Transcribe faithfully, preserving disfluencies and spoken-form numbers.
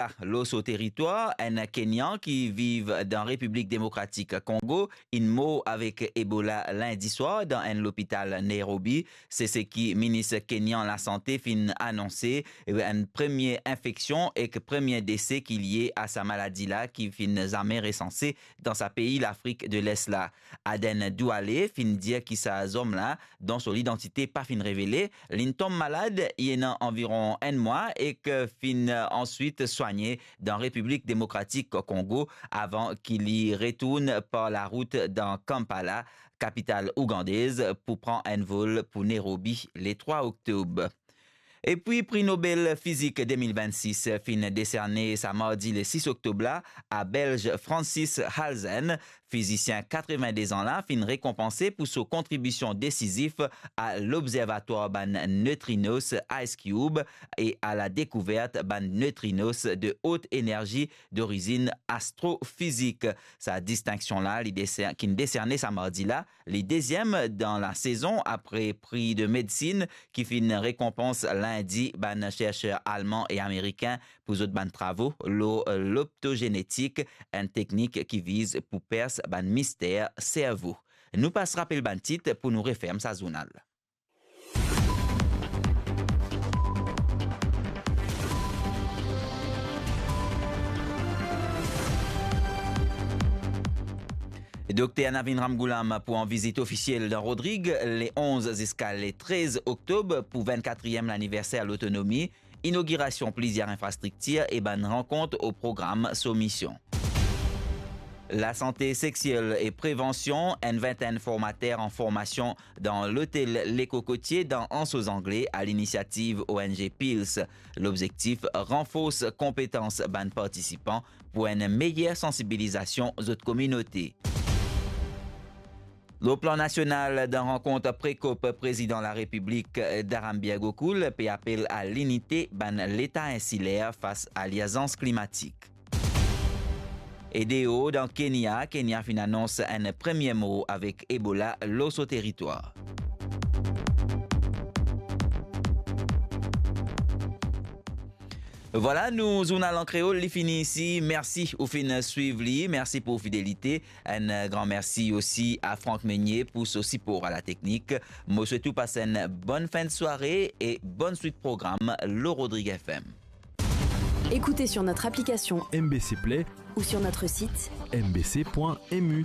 Ebola lor so teritwar. Enn Kenyan ki viv dan Repiblik Demokratik Kongo inn mor avek Ebola lindi swar dan enn lopital Nairobi. Se seki minis Kenyan lasante finn anonse, enn premie infeksion ek premie dese ki lie a sa maladi la ki finn zame resanse dan sa pei Lafrik de Les la. Aden Douale finn dir ki sa zom la, dont so lidantite pa finn revele, linn tom malad, li ena anviron enn mwa ek finn answit swanye dan Repiblik Demokratik Kongo avan ki li retourn par larout dan Kampala, kapital ougandez, pou pran enn vol pou Nairobi le trwa oktob. Epi pri Nobel Fizik de mil vennsis finn deserne sa mardi le sis oktob la a Belz Francis Halzen, fizisien katreven-de-z-an la finn rekonpanse pou so kontribision desizif a lobzervatwar bann neutrinos IceCube e a la dekouvert bann neutrinos de haute énergie d'origine astrofizik. Sa distinksion la, li deser-, ki'nn deserne sa mardi la, li deziem dan lasezon apre pri de medsinn ki finn rekonpans lindi bann cherser alman e amerikin pou zot bann travo lor loptozenetik, enn teknik ki viz pou pers bann mister servo. Nou pas rapel bann tit pou nou referm sa zournal. Dokter Navin Ramgoolam pou an vizit ofisiel dan Rodrig le onz ziska le trez oktob pou vennkatriem laniverser lotonomi, inogirasion plizier infrastriktir e bann rankont o program so mision. Lasante seksiel e prevansion, enn vintenn formater an formasion dan lotel Le Cocotier dan Anse aux Anglais a linisiativ ONG Pils. Lobzektif, ranfors konpetans bann partisipan pou enn meyer sansibilizasion zot kominote. Lor plan nasional, dan rankont pre-COP, Prezidan Larepiblik Dharambir Gokul pe apel a linite bann leta insiler fas a lirzans klimatik. E deor dan Kenya, Kenya finn anons enn premie mor avek Ebola lor so teritwar. Vwala, nou zournal an kreol, li fini isi. Mersi ou finn swiv li. Mersi pou fidelite. Enn gran mersi osi a Franck Meunier pou so sipor a la teknik. Mo swet ou pas enn bonn fin de sware e bonn swit program lor Rodrig FM. Écoutez sur notre application M B C Play ou sur notre site M B C point M U.